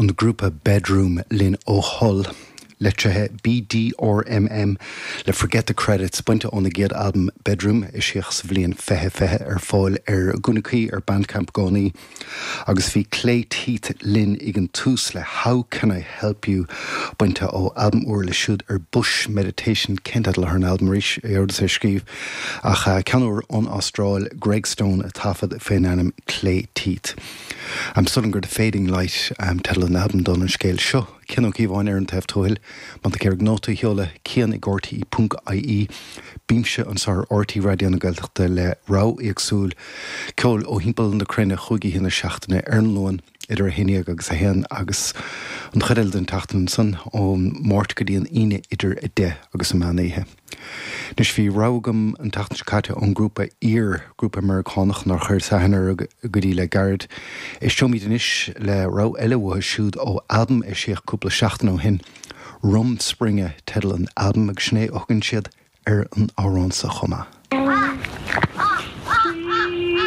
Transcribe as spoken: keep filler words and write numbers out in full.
An grúpa Bedroom linn ó Hull. Litrithe BDRMM le Forget the Credits bainte óna gcéad albam Bedroom eisíodh sa bhliain fiche fiche ar fáil ar Gúnaí ar Bandcamp i gcónaí. Agus bhí Clay Teeth linn ag an tús le How Can I Help You bainte ó albam úr leo siúd ar Bush Meditation cén teideal ar an albam arís é ar scríobh ach uh, ceann úr ón Astráil Greg Stone a taifead faoin ainm Clay Teeth. Am sul gur the Fading Light um, teideal an albaim don an scéal seo. Cian Ó Cíobháin ar an taobh tuathail, má tá ag nóta a sheoladh cian ag RTE ponc IE bímse anseo ar RTÉ Raidió na Gaeltachta le rogha éagsúil ceoil ó thimpeall na cruinne chúig oíche na seachtaine ar an Luan idir a haon déag agus a haon agus an chuid eile den tseachtain san ón Máirt go dtí an Aoine idir a deich agus an meán oíche. Anois bhí rogha agam an tseachtain seo caite ón grúpa Ear grúpa Meiriceánach nár chuir aithne orthu go dtí le gairid. Éisteoimid anois le rogha eile uathu siúd ó albam eisíodh cúpla seachtain ó shin. Rumspringa teideal an albaim agus sin é a thugann siad ar an amhrán sa chuma.